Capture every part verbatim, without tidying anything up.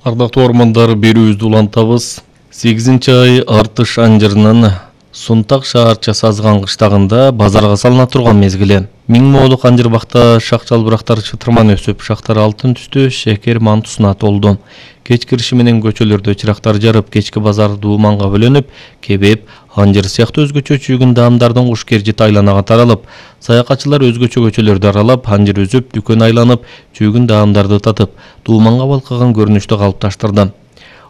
Ардактуу ормандар берүүбүздү улантабыз. сегизинчи ай Артыш анжырынын Сунтак шаарчасы Азган кыштагында базарга салына турган мезгили. Миң моолук анжыр бакта шак жалбырактар чытырман өсүп, шактар алтын түстүү шекер мантусуна толду. Кеч кириши менен көчөлөрдө чырактар жарып, кечки базар дууманга бөлөнүп, кебеп, анжыр сыяктуу өзгөчө чүйгүн даамдардын куш кержити айланага таралып, саякатчылар өзгөчө көчөлөрдү аралап, анжыр үзүп, дүкөн айланып, чүйгүн даамдарды татып, дууманга балкыган көрүнүштү калыпташтырды.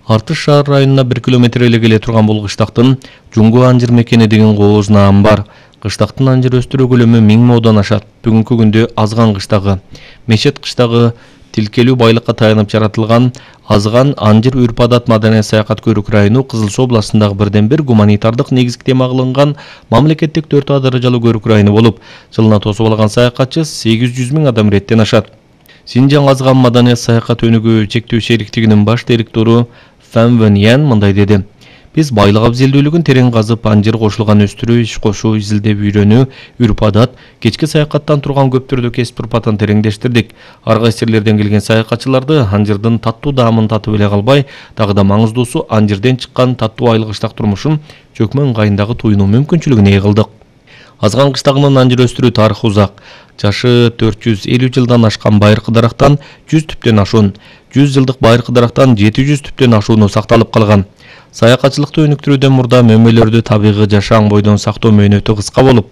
Артыш шаар районуна бир километр эле келе турган бул кыштактын Жуңгу анжыр мекени деген кооз наам бар. Кыштактын анжыр өстүрүү көлөмү миң моодан ашат. Бүгүнкү күндө Азган кыштагы, Мешет кыштагы тилкелүү байлыкка таянып жаратылган Азган анжыр үрп-адат маданий саякат көрүк району Кызыл Суу областындагы бирден бир гуманитардык негизги тема кылынган мамлекеттик төрт А даражалуу көрүк району болуп, жылына тосуп алган саякатчы сегиз жүз миң адам иреттен ашат. Синжаң Азган маданий саякат өнүгүү чектөө шериктигинин баш директору Фан Вен Ян мындай деди: Биз байлык абзелдүүлүгүн терең казып, анжыр кошулган өстүрүү, иш кошуу, изилдеп үйрөнүү, үрп-адат, кечки саякаттан турган көп түрдүү кесип урпатын тереңдештирдик. Ар кайсы жерлерден келген саякатчыларды анжырдын таттуу даамын татып эле калбай, дагы да маңыздуусу анжырден чыккан таттуу айлык кыштак турмушун чөкмө ыңгайындагы туюнуу мүмкүнчүлүгүн ээ кылдык. Азган кыштагынын анжыр өстүрүү тарыхы узак. Жашы төрт жүз элүү жылдан ашкан байыркы дарактан жүз түптөн ашуун, жүз жылдык байыркы дарактан жети жүз түптөн ашууну сакталып калган. Саякатчылыкты өнүктүрүүдөн мурда мөмөлөрдү табигый жашаан бойдон сактоо мөөнөтү кыска болуп,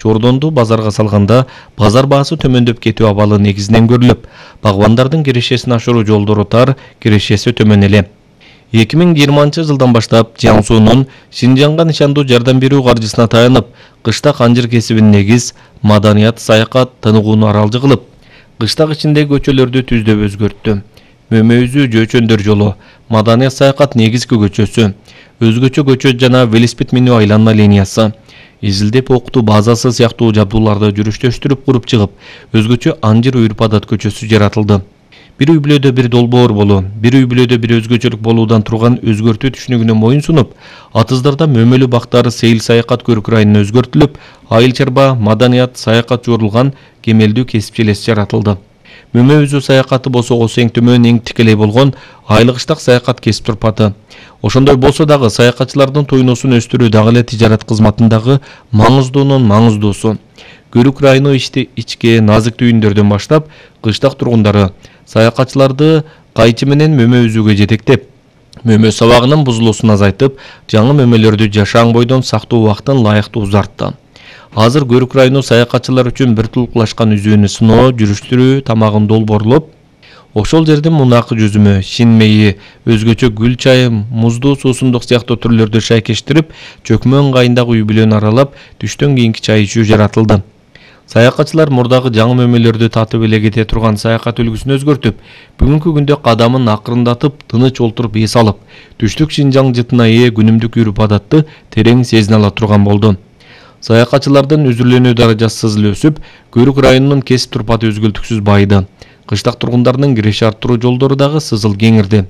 чордонду базарга салганда базар баасы төмөндөп кетүү абалы негизинен көрүлүп, багбандардын кирешесин ашыруу жолдору тар, кирешеси төмөн эле. эки миң жыйырманчы жылдан баштап Жиаң Суунун Синжаңга нишандуу жардам берүү каржысына таянып, кыштак анжыр кесибин негиз, маданият, саякат, тыныгууну аралжы кылып, кыштак ичиндеги көчөлөрдү түздөп өзгөрттү. Мөмө-үзүү жөөчөндөр жолу, маданият саякат негизги көчөсү, өзгөчө көчө жана велосипед минүү айланма линиясы, изилдеп окутуу базасы сыяктуу жабдууларды жүрүштөштүрүп куруп чыгып, өзгөчө анжыр үрп-адат көчөсү жаратылды. Бир үй бүлөдө бир долбоор болуу, бир үй бүлөдө бир өзгөчөлүк болуудан турган өзгөртүү түшүнүгүнө моюн сунуп, Атыздарда мөмөлүү бактар сейил саякат көрүк районуна өзгөртүлүп, айыл чарба, маданият, саякат жуурулган кемелдүү кесипчи элес жаратылды. Мөмө үзүү саякаты болсо осы эң төмөн, эң тикелей болгон айлык кыштак саякат кесип турпаты. Ошондой болсо дагы саякатчылардын туйнусун өстүрүү дагы эле тижарат кызматындагы маңыздуунун маңыздуусу. Көрүк району ичти ичке назык түйүндөрдөн баштап, кыштак тургундары саякатчыларды кайчы менен мөмө үзүүгө жетектеп, мөмө сабагынын бузулуусун азайтып, жаңы мөмөлөрдү жашаан бойдон сактоо убактын лайыктуу узартты. Азыр көрүк району саякатчылар үчүн бир тулуклашкан үзүүнү сыноо, жүрүштүрүү тамагын долбоорлоп, ошол жердин мунакы жүзүмү, шин мейи, өзгөчө гүл чайы, муздуу суусундук сыяктуу түрлөрдү шайкештирип, чөкмө ыңгайындагы үй бүлөнү аралап, түштөн кийинки чай ичүү жаратылды. Саякатчылар мурдагы жаңы мөмөлөрдү татып эле кете турган саякат үлгүсүн өзгөртүп, бүгүнкү күндө кадамын акырындатып, тыныч олтуруп эс алып, түштүк Синжаң жытына ээ күнүмдүк үрп-адатты терең сезине ала турган болду. Саякатчылардын үзүрлөнүү даражасы сызыл өсүп, көрүк районунун кесип турпаты өзгөлтүксүз байыды. Кыштак тургундардын киреше арттыруу жолдору дагы сызыл кеңирди.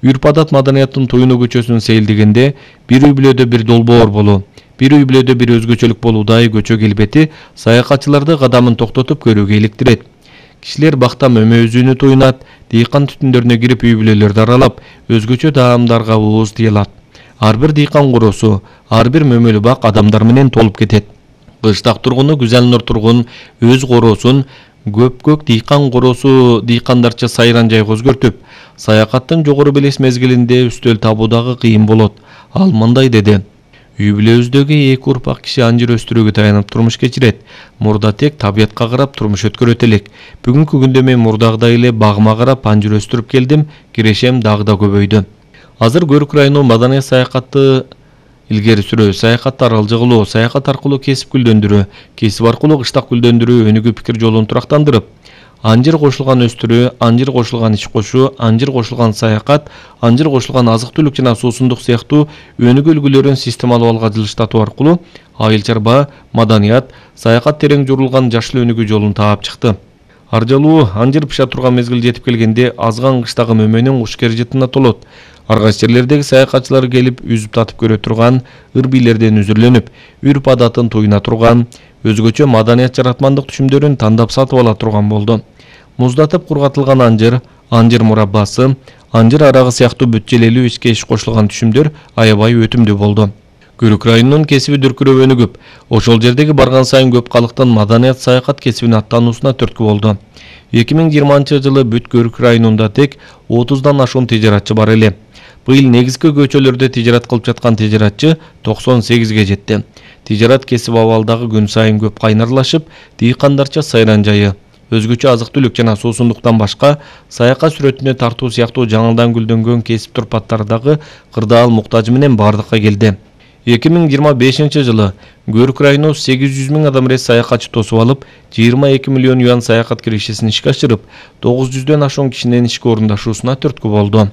Үрп-адат маданияттын туюну көчөсүн сейилдегенде бир үй бүлөдө бир долбоор болуу, бир үй бүлөдө бир өзгөчөлүк болуудагы көчө келбети саякатчыларды кадамын токтотуп көрүүгө иликтирет. Кишилер бакта мөмө үзүүнү туйнат, дыйкан түтүндөрүнө кирип үй бүлөлөрдү аралап, өзгөчө даамдарга ооз тыялат. Ар бир дыйкан короосу, ар бир мөмөлүү бак адамдар менен толуп кетет. Кыштак тургуну Гүзелнур тургун өз короосун көп-көк дыйкан короосу дыйкандарча сайран жайга өзгөртүп, саякаттын жогору белес мезгилинде үстөл табуу дагы кыйын болот. Ал мындай деди: Үй бүлөбүздөгү эки урпак киши анжыр өстүрүүгө таянып турмуш кечирет. Мурда тек табиятка карап турмуш өткөрөт элек. Бүгүнкү күндө мен мурдагыдай эле багыма карап анжыр өстүрүп келдим, кирешем дагы да көбөйдү. Азыр көрүк району маданий саякатты илгери сүрүү, саякатты аралжы кылуу, саякат аркылуу кесип гүлдөндүрүү, кесип аркылуу кыштак гүлдөндүрүү өнүгүү пикир жолун турактандырып, анжыр кошулган өстүрүү, анжыр кошулган ич кошуу, анжыр кошулган саякат, анжыр кошулган азык-түлүк жана суусундук сыяктуу өнүгүү үлгүлөрүн системалуу алга жылыштатуу аркылуу айыл чарба, маданият, саякат терең журулган жашыл өнүгүү жолун таап чыкты. Аржалуу анжыр пыша турган мезгил жетип келгенде Азган кыштагы мөмөнүн куш кержитине толот. Ар кайсы жерлердеги саякатчылар келип үзүп татып көрө турган, ыр бийлерден үзүрлөнүп, үрп-адатын туйуна турган, өзгөчө маданият жаратмандык түшүмдөрүн тандап сатып ала турган болду. Муздатып кургатылган анжыр, анжыр мураббасы, анжыр арагы сыяктуу бүт желелүү ичке иш кошулган түшүмдөр аябай өтүмдүү болду. Көрүк районунун кесиби дүркүрөбөнү көп. Ошол жердеги барган сайын көп калктын маданият саякат кесибине аттануусуна түрткү болду. эки миң жыйырманчы жылы бүт Көрүк районунда тек отуздан ашуун тижаратчы бар эле. Быйыл негизги көчөлөрдө тижарат кылып жаткан тижаратчы токсон сегизге жетти. Тижарат кесип абалдагы күн сайын көп кайнарлашып, дыйкандарча сайран жайы, өзгөчө азык-түлүк жана суусундуктан башка саякат сүрөтүнө тартуу сыяктуу жаңыдан гүлдөнгөн кесип турпаттары дагы кырдаал муктажы менен бардыкка келди. эки миң жыйырма бешинчи жылы Көрүк району сегиз жүз миң адам рейс саякатчы тосуп алып, жыйырма эки миллион юан саякат киришесин ишке ашырып, тогуз жүздөн ашуун кишинин ишке орундашуусуна түрткү болду.